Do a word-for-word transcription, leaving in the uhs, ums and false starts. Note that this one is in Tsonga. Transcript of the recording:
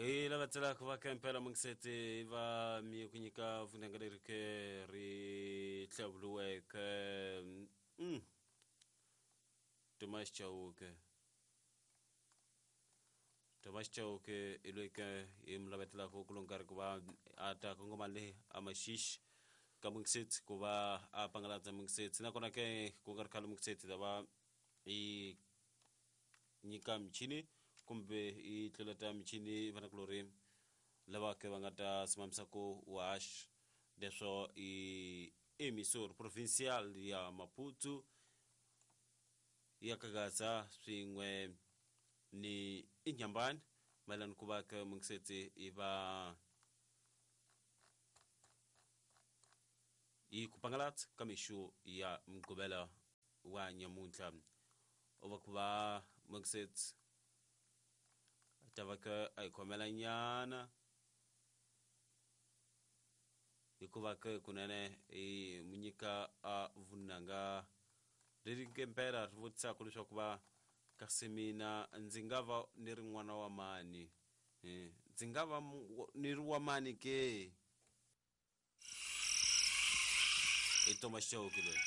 Hi lava tselaka va ka impela mungiseti va mi ku nyika vunanga leri ke ri hlawuriweke mm. Thomas Chauke Thomas Chauke i loyi ke hi mi lavetelaka ku lo nkarhi ku va a ta kongoma le a Maxixe ka mungiseti ku va a pangalatsa mungiseti nakona ke ku nga ri khale mungiseti ta va i nyika michini kumbe i tluleta michini vanakulorhi lava ke va nga ta simamisa ku haxa leswo i emisor provincial ya Maputo ya Kagaza swin'we ni Inhambane mayelana ku va ke mungiseti i va yi ku pangalatsa ka mixo ya Mugqivela wa nyamuntlha u va ku va mungiseti ta va ke a hi khomela nyana hikuva ke kunene i mu nyika a vunanga leri ke mpela ri vutisaka leswaku va kasi mina ndzi nga va ni ri n'wana wa mani, ndzi nga va ni ri wa mani ke? I Thomas Chauke loyi.